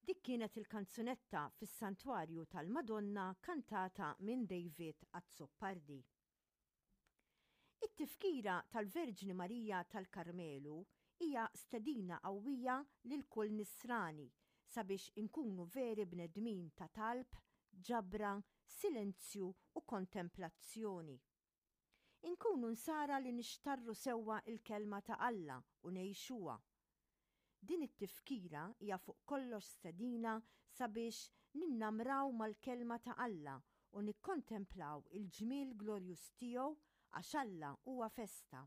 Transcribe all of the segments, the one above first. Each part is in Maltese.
Dik kienet il-kanzunetta fis-Santwarju tal-Madonna kantata minn David Azzopardi. It-tifkira tal-Verġni Marija tal-Karmelu hija stedina qawwija lil kull Nisrani sabiex inkunu veri bnedmin ta' talb, ġabra, silenzju u kontemplazzjoni. Inkunu Nsara li nixtarru sewwa l-Kelma ta' Alla u ngħixuha. Din it-tifkira hija fuq kollox stedina sabiex ninnamraw mal-Kelma ta' Alla u nikkontemplaw il-ġmiel glorjuż tiegħu għax Alla huwa festa.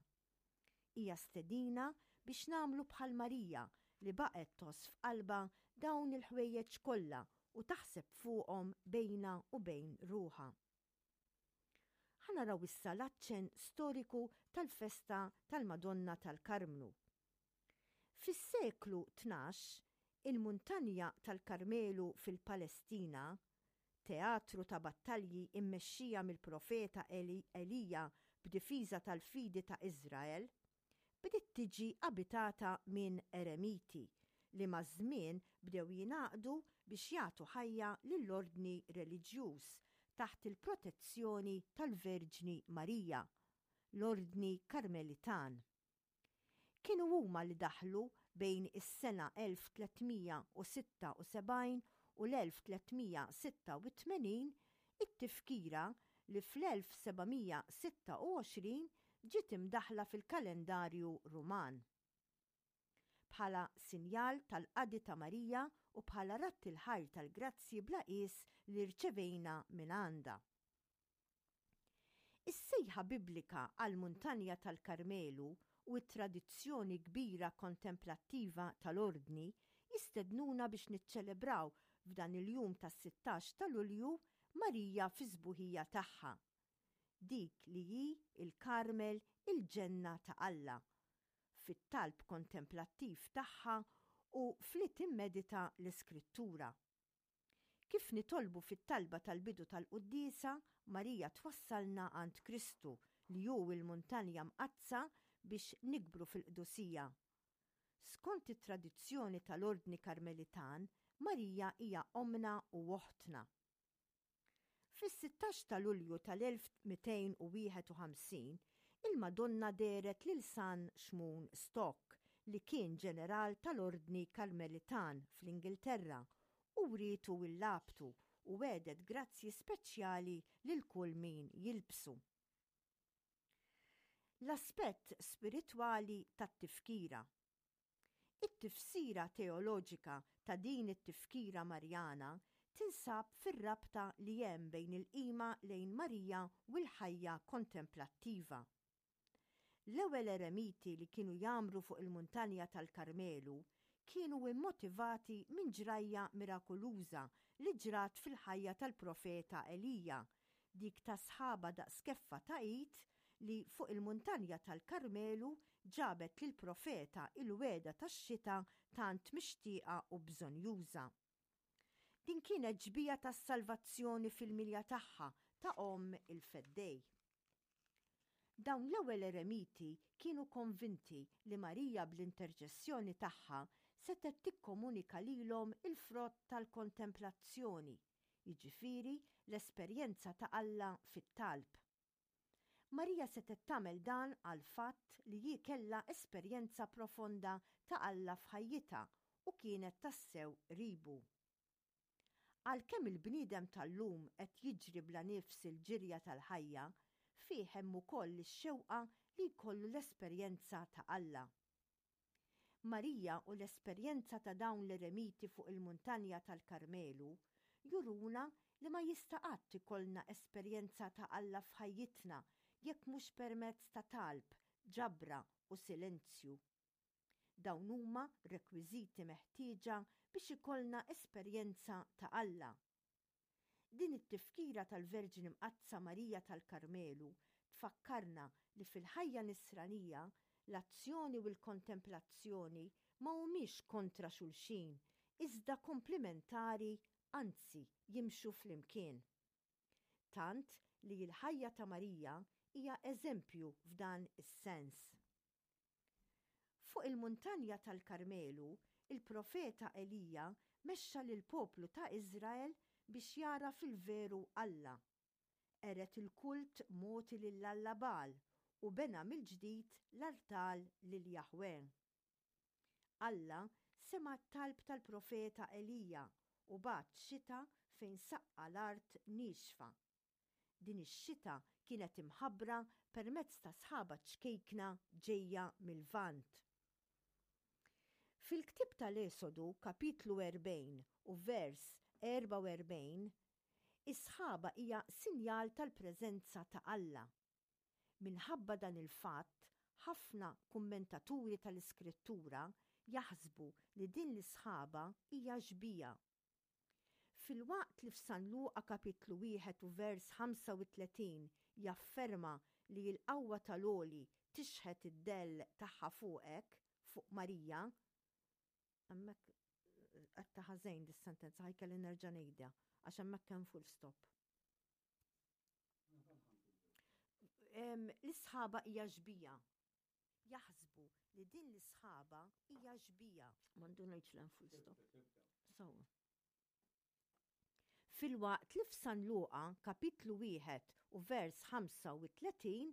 Hija stedina biex nagħmlu bħal Marija li baqgħet tgħożż f'qalbha dawn il-ħwejjeġ kollha u taħseb fuqhom bejnha u bejn ruħha. Ħa naraw issa l-aċċenn storiku tal-festa tal-Madonna tal-Karmnu. Fis-seklu 12, il-muntanja tal-Karmelu fil-Palestina, teatru ta' battalji mmexxija mill-profeta Elija b'difiża tal-fidi ta' Iżrael, bdiet tiġi abitata minn eremiti li maż-żmien bdew jingħaqdu biex jagħtu ħajja lill-ordni reliġjuż taħt il-protezzjoni tal-Verġni Marija, l-Ordni Karmelitan. Kienu huma li daħlu bejn is-sena 1376 u l-1386 it-tifkira li fl-1726 ġiet imdaħħla fil-kalendarju Ruman. Bħala sinjal tal-qadi ta' Marija u bħala radd il-ħajr tal-grazzji bla qies li rċevejna mingħandha. Is-sejħa Biblika għall-Muntanja tal-Karmelu u t-tradizzjoni kbira kontemplattiva tal-Ordni jistednuna biex niċċelebraw f'dan il-jum tas-sittax ta' Lulju Marija fis-sbuħija tagħha, dik li hi l-Karmel il-ġenna ta' Alla, fit-talb kontemplattiv tagħha u f'li timmedita l-Iskrittura. Kif nitolbu fit-talba tal-bidu tal-quddiesa, Marija twassalna għand Kristu li hu l-Muntanja Mqaddsa biex nikbru fil-qdusija. Skont it-tradizzjoni tal-Ordni Karmelitan, Marija hija ommna u oħtna. Fis-sittax ta' Lulju tal-1251, il-Madonna dehret lil San Xmun Stock, li kien ġeneral tal-Ordni Karmelitan fl-Ingilterra, u wrietu l-labtu u wegħdet grazzji speċjali lil kull min jilbsu. L-aspett spiritwali tat-tifkira. It-tifsira teoloġika ta' din it-tifkira Marjana tinsab fir-rabta li hemm bejn il-qima lejn Marija u l-ħajja kontemplattiva. L-ewwel eremiti li kienu jgħammru fuq il-muntanja tal-Karmelu kienu mmotivati minn ġrajja mirakuluża li ġrat fil-ħajja tal-profeta Elija, dik ta' sħaba daqs keffa ta' id li fuq il-muntanja tal-Karmelu ġabet lill-profeta il-wegħda tax-xita tant mixtieqa u bżonnjuża. Din kienet xbieha tas-salvazzjoni fil-milja tagħha ta' omm il-Feddej. Dawn l-ewwel eremiti kienu konvinti li Marija bl-interċessjoni tagħha setgħet tikkomunika lilhom il-frott tal-kontemplazzjoni, jiġifieri l-esperjenza ta' Alla fit-talb. Marija setgħet tagħmel dan għall-fatt li hi kellha esperjenza profonda ta' Alla f'ħajjitha u kienet tassew qribu. Għalkemm il-bniedem tal-lum qed jiġri bla nifs il-ġirja tal-ħajja, fih hemm ukoll ix-xewqa li jkollu l-esperjenza ta' Alla. Marija u l-esperjenza ta' dawn l-eremiti fuq il-muntanja tal-Karmelu juruna li ma jista' qatt ikollna esperjenza ta' Alla f'ħajjitna jekk mhux permezz ta' talb, ġabra u silenzju. Dawn huma rekwiżiti meħtieġa biex ikollna esperjenza ta' Alla. Din it-tifkira tal-Verġni Mqaddsa Marija tal-Karmelu tfakkarna li fil-ħajja nisranija l-azzjoni u l-kontemplazzjoni ma humiex kontra xulxin iżda komplimentari anzi jimxu flimkien. Tant li l-ħajja ta' Marija hija eżempju f'dan is-sens. Fuq il-muntanja tal-Karmelu, il-profeta Elija mexxa lill-poplu ta' Iżrael biex jagħraf il-veru Alla. Qered il-kult mogħti lill-alla Bagħal u bena mill-ġdid l-artal lil Jaħwè. Alla sema' t-talb tal-profeta Elija u bagħat xita fejn saqqa l-art niexfa. Din ix-xita kienet imħabbra permezz ta' sħaba ċkejkna ġejja mil-Lvant. Fil-ktieb tal-Esodu, kapitlu 40 u vers 44, is-sħaba hija sinjal tal-preżenza ta' Alla. Minħabba dan il-fatt, ħafna kummentaturi tal-Iskrittura jaħsbu li din l-isħaba hija xbieha. Filwaqt li f'San Luqa kapitlu wieħed u vers 35 jafferma li l-qawwa tal-Għoli tixħet id-dell tagħha fuqek, fuq Marija, hemmhekk għedtha ħażin dis-sentenza ħa jkelli nerġa' ngħidha għax hemmhekk hemm full stop. L-isħaba hija xbija. Jaħsbu li din l-isħaba hija xbija. M'għandu ngħidx l full stop. So. Filwaqt li f'San Luqa kapitlu 1 u vers 35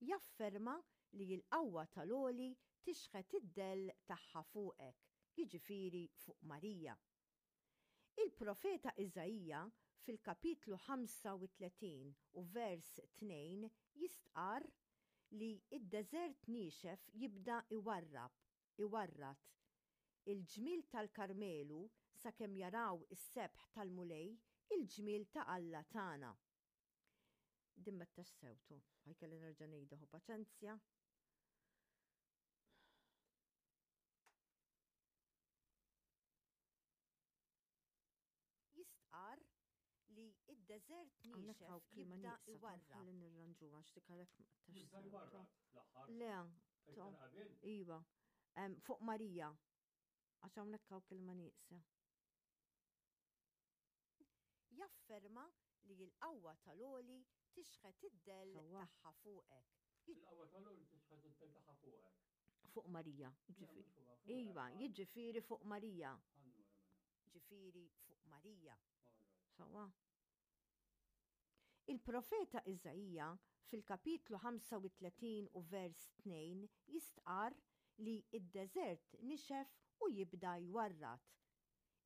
jafferma li l-qawwa tal-għoli tixħet id-dell tagħha fuqek, jiġifieri fuq Marija. Il-profeta Iżaija fil-kapitlu 35 u vers 2 jistqarr li d-deżert niexef jibda jwarrab, iwarrad, il-ġmiel tal-Karmelu sakemm jaraw is-sebħ tal-Mulej, il-ġmiel ta' Alla tagħna. Din m'għedthax sew, tu, ħa jkelli nerġa' ngħidha, ħu paċenzja. Jistqarr li d-deżert niexef jibda iwarrab. Ħalli nirranġuha għax dik għalhekk ma qtax. Jibda jwarrab fl-aħħar. Le, iva. Fuq Marija. Għax hawnhekk hawn kelma nieqsa. Jafferma li l-qawwa tal-għoli tixħet id-dell tagħha fuqek. Il-qawwa tal-għoli tixħet id-dell tagħha fuqek. Fuq Marija, ġifieri. Iva, jiġifieri fuq Marija. Ġifieri fuq Marija. Sewwa. Il-profeta Iżaija fil-kapitlu 35 u vers 2 jistqarr li d-deżert nixef u jibda jwarrad.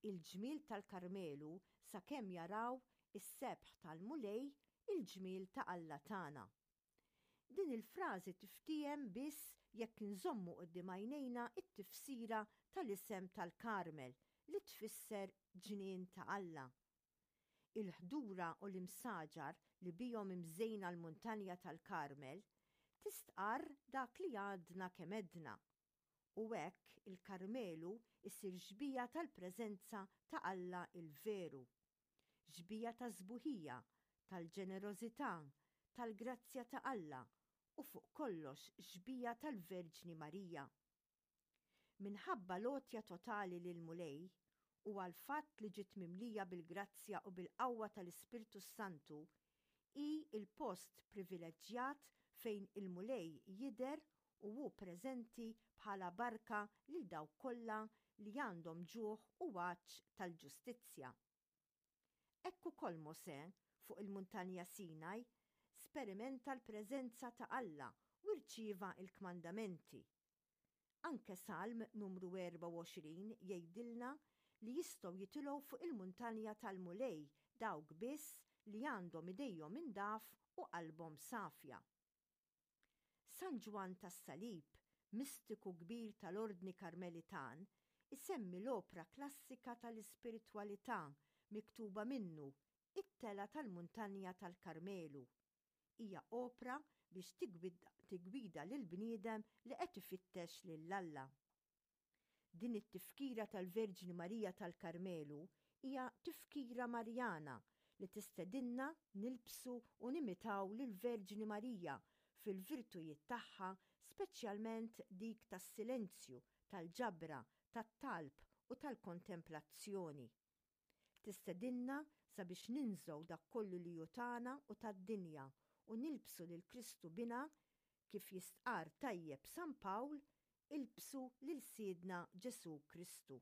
Il-ġmiel tal-Karmelu sakemm jaraw is-sebħ tal-Mulej, il-ġmiel ta' Alla tagħna. Din il-frażi tiftiehem biss jekk inżommu quddiem għajnejna t-tifsira tal-isem tal-Karmel li tfisser ġnien ta' Alla. Il-ħdura u l-imsaġar li bihom imżejna l-muntanja tal-Karmel tistqarr dak li għadna kemm għedna. U hekk il-Karmelu jsir xbieha tal-preżenza ta' Alla l-veru. Xbieha tas-sbuħija, tal-ġenerożità, tal-grazzja ta' Alla u fuq kollox xbieha tal-Verġni Marija. Minħabba l-għotja totali lill-Mulej u għall-fatt li ġiet mimlija bil-grazzja u bil-qawwa tal-Ispirtu s-Santu, hi l-post privileġġjat fejn il-Mulej jidher u hu preżenti bħala barka lil dawk kollha li għandhom ġuħ u għatx tal-ġustizzja. Hekk ukoll Mosè, fuq il-Muntanja Sinaj, sperimenta l-preżenza ta' Alla u rċieva l-kmandamenti. Anke Salm numru 24 jgħidilna li jistgħu jitilgħu fuq il-muntanja tal-Mulej dawk biss li għandhom idejhom indaf u qalbhom safja. San Ġwann tas-Salib, mistiku kbir tal-Ordni Karmelitan, isemmi l-opra klassika tal-ispiritwalità miktuba minnu, It-Telgħa tal-Muntanja tal-Karmelu. Hija opra biex tiggwida lill-bniedem li qed ifittex lil Alla. Din it-tifkira tal-Verġni Marija tal-Karmelu hija tifkira Marjana li tistedinna nilbsu u nimitaw lill-Verġni Marija fil-virtujiet tagħha speċjalment dik tas-silenzju, tal-ġabra, tat-talb u tal-kontemplazzjoni. Tistedinna sabiex ninżgħu dak kollu li hu tagħna u tad-dinja u nilbsu lil Kristu Binha kif jistqarr tajjeb San Pawl, Ilbsu lil Sidna Ġesù Kristu.